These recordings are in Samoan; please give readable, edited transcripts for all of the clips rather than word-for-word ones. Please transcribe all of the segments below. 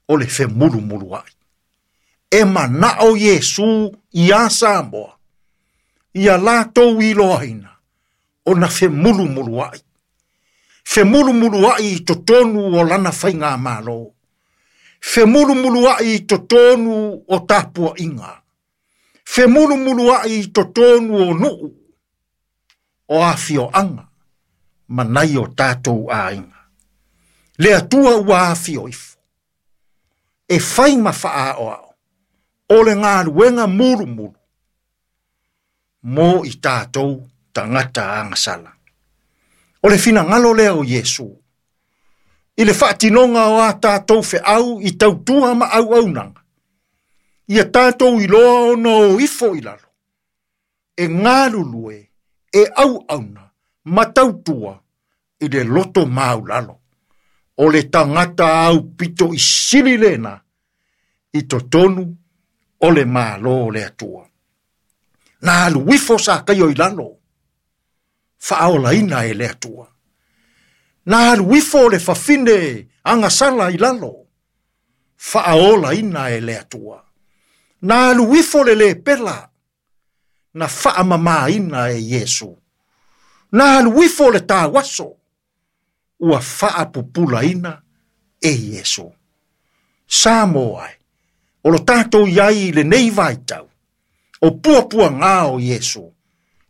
O le femulumulua'i. E mana'o Iesu iā Samoa, ia latou iloaina ona femulumulua'i. Femulumulua'i i totonu o lana faigamalo. Femulumulua'i i totonu o tapua'iga. Femulumulua'i i totonu o nu'u, o afioaga ma nai o tatou aiga. Le Atua ua afio ifo, e fai ma faaoao, o le galuega mulumulu mo i tatou tagata agasala. O le finagalo lea o Iesu, i le faatinoga o a tatou feau i tautua ma auaunaga, ia tatou iloa ona o ifo i lalo, e galulue, e auauna, ma tautua i le loto maulalo. O le tagata aupito i sili lena i totonu o le Malo o le Atua. Na alu ifo Sakaio i lalo, faaolaina e le Atua. Na alu ifo le fafine agasala i lalo, faaolaina e le Atua. Na alu ifo le lepela, na faamamaina e Iesu. Na alu ifo le tauaso, ua faapupulaina e Iesu. Samoa e, o lo tatou i ai i lenei vaitau, o puapuagā o Iesu,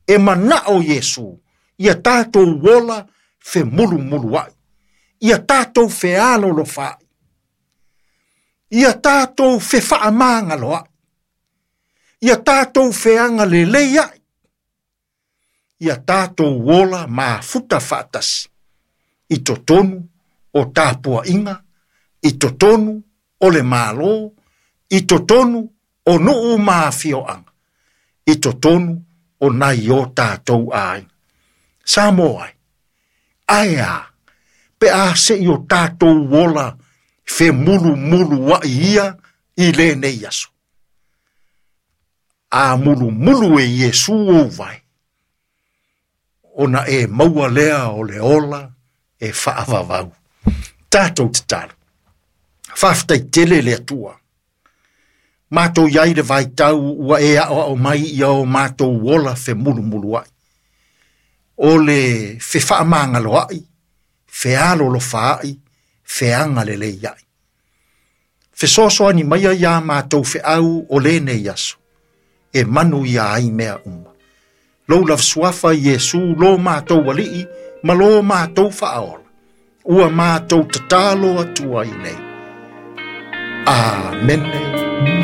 e mana'o Iesu, ia tatou ola femulumulua'i, ia tatou fealolofa'i, ia tatou fefaamagaloa'i, ia tatou feagaleleia'i, ia tatou ola mafuta faatasi, i totonu o tapua'iga, i totonu o le Malo, i totonu o nu'u ma afioaga, i totonu o nai o tatou aiga. Samoa e, ae a, pe a se'i o tatou ola femulumulua'i ia i lenei aso. A mulumulu e Iesu ou vae, ona e maua lea o le ola e faavavau. Tatou tatalo. Faafetai tele le Atua. Matou i ai le vaitau ua e aoao mai ia o matou ola femulumulua'i. O le fefaamagaloa'i, fealolofaa'i, feagaleleia'i. Fesoasoani maia iā matou feau o lenei aso, e manuia ai mea uma. Lou lava suafa Iesu lo matou Alii ma lo matou Faaola, ua matou tatalo atu ai nei. Amene.